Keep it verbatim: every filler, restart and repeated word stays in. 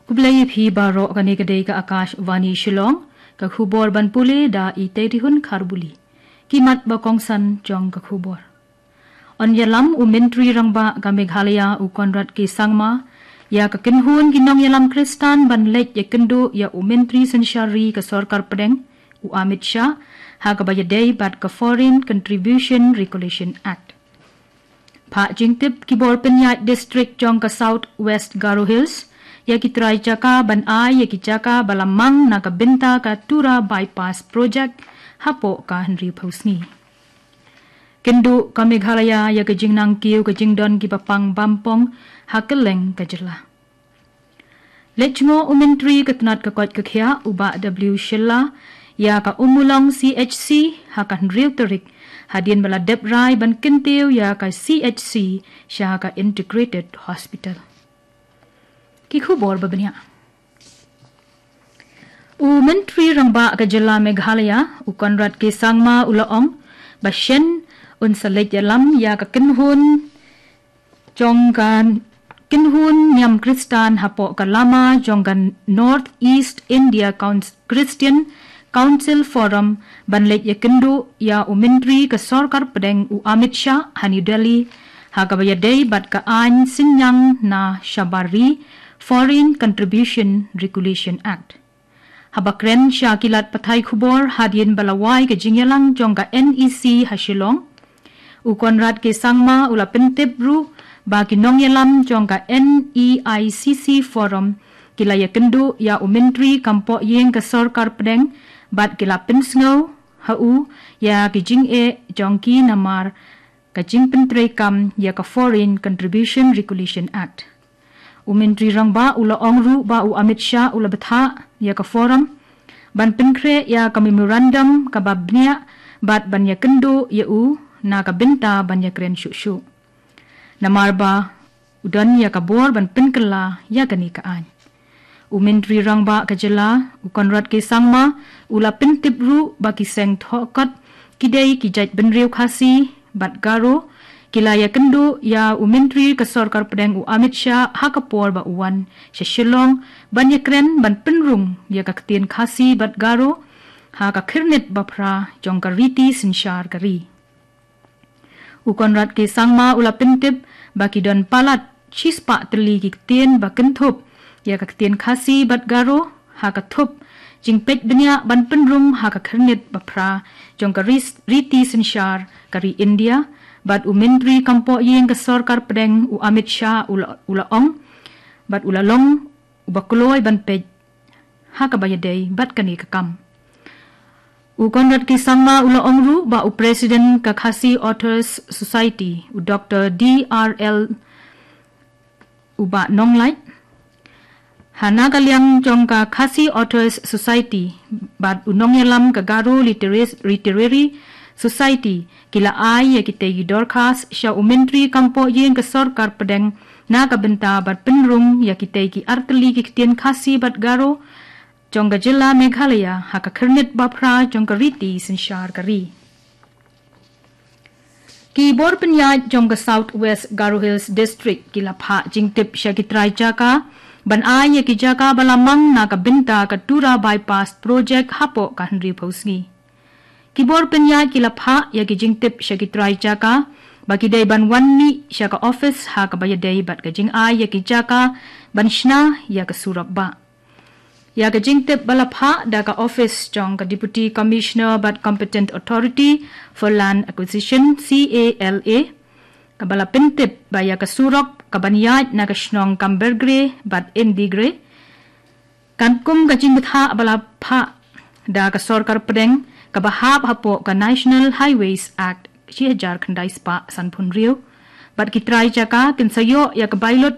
Khublei ïa phi baroh, kane ka dei ka Akashvani Shillong, ka khubor ban pule da i Teitihun Kharbuli. Ki mat ba kongsan jong ka khubor. Yn ïalam u Myntri Rangbah ka Meghalaya u Conrad K Sangma ïa ka kynhun ki nongïalam Khristan ban leit ïakynduh ïa u Myntri Synshar Ri ka Sorkar Pdeng u Amit Shah ha kaba ïadei bad ka Foreign Contribution Regulation Act. Phah jingtip ki bor pynïaid district jong ka South West Garo Hills ïa ki trai jaka ban ai ïa ki jaka ba la mang na ka bynta ka Tura Bypass Project hapoh ka hynriewphew sngi. Kynduh ka Meghalaya ïa ka jingnang kiew ka jingdon ki bapang bampong ha kylleng ka jylla. Leit jngoh u Myntri ka tnat ka koit ka khiah u Bah W Shylla ïa ka Ummulong C H C ha ka hynriew tarik, hadien ba la dep rai ban kyntiew ïa ka C H C sha ka Integrated Hospital. Ki khubor ba bniah. U Myntri Rangbah ka jylla Meghalaya u Conrad K Sangma u la ong ba shen un sa leit ïalam ïa ka kynhun jong ka kynhun niam Khristan hapoh ka lama jong ka North East India Couns- Christian Council Forum ban leit ïakynduh ïa u Myntri ka Sorkar Pdeng u Amit Shah ha New Delhi ha kaba ïadei bad ka aiñ synñiang na shabar ri, Foreign Contribution Regulation Act. Haba kren sha ki lad pathai khubor hadien ba la wai ka jingïalang jong ka N E C ha Shillong, u Conrad K Sangma u la pyntip ruh ba ki nongïalam jong ka N E I C C Forum ki la ïakynduh ïa u Myntri kam pohïing ka Sorkar Pdeng bad ki la pynsngew ha u ïa ki jingeh jong ki namar ka jingpyntreikam ïa ka Foreign Contribution Regulation Act. U Myntri Rangbah u la ong ruh ba u Amit Shah u la bthah ïa ka Forum ban pynkhreh ïa ka memorandum kaba bniah bad ban ïakynduh ïa u na ka bynta ban ïakren shuh shuh. Namar ba u don ïa ka bor ban pynkylla ïa kane ka aiñ. U Myntri Rangbah ka jylla u Conrad K Sangma u la pyntip ruh ba ki seng thohkot ki dei ki jait bynriew Khasi bad Garo ki la ïakynduh ïa u Myntri ka Sorkar Pdeng u Amit Shah ha ka por ba u wan sha Shillong ban ïakren ban pynrung ïa ka ktien Khasi bad Garo ha ka khyrnit ba phra jong ka riti synshar ka ri. U Conrad K Sangma u la pyntip ba ki don palat shispah tylli ki ktien ba kynthup ïa ka ktien Khasi bad Garo ha ka thup jingpeit bniah ban pynrung ha ka khyrnit ba phra jong ka ris- riti synshar ka ri India, bad u Myntri kam pohïing ka Sorkar Pdeng u Amit Shah u la, u la ong bad u la long uba kloi ban peit ha kaba ïadei bad kane ka kam. U Conrad K Sangma u la ong ruh ba u President ka Khasi Authors Society u Doctor D R L u Bah Nonglait ha na ka liang jong ka Khasi Authors Society bad u nongïalam ka Garo Literas- Literary Society ki la ai ïa kitei ki dorkhas sha u Myntri kam pohïing ka Sorkar Pdeng na ka bynta ban pynrung ïa kitei ki artylli ki ktien Khasi bad Garo jong ka jylla Meghalaya ha ka khyrnit ba phra jong ka riti synshar ka ri. Ki bor pynïaid jong ka South West Garo Hills District ki la phah jingtip sha ki trai jaka ban ai ïa ki jaka ba la mang na ka bynta ka Tura Bypass Project hapoh ka hynriewphew sngi. Ki bor pynïaid ki la phah ïa ki jingtip sha ki trai jaka ba ki dei ban wan mih sha ka office ha kaba ïadei bad ka jingai ïa ki jaka ban shna ïa ka surok bah. Ïa ka jingtip ba la phah da ka office jong ka Deputy Commissioner bad Competent Authority for Land Acquisition, C A L A, kaba la pyntip ba ïa ka surok kaban ïaid na ka shnong Kambergre bad Indigre kan kum ka jingbthah ba la phah da ka Sorkar Pdeng kaba hap hapoh ka National Highways Act shi hajar khyndai spah sanphew hynriew bad ki trai jaka kin sa ïoh ïa ka bailut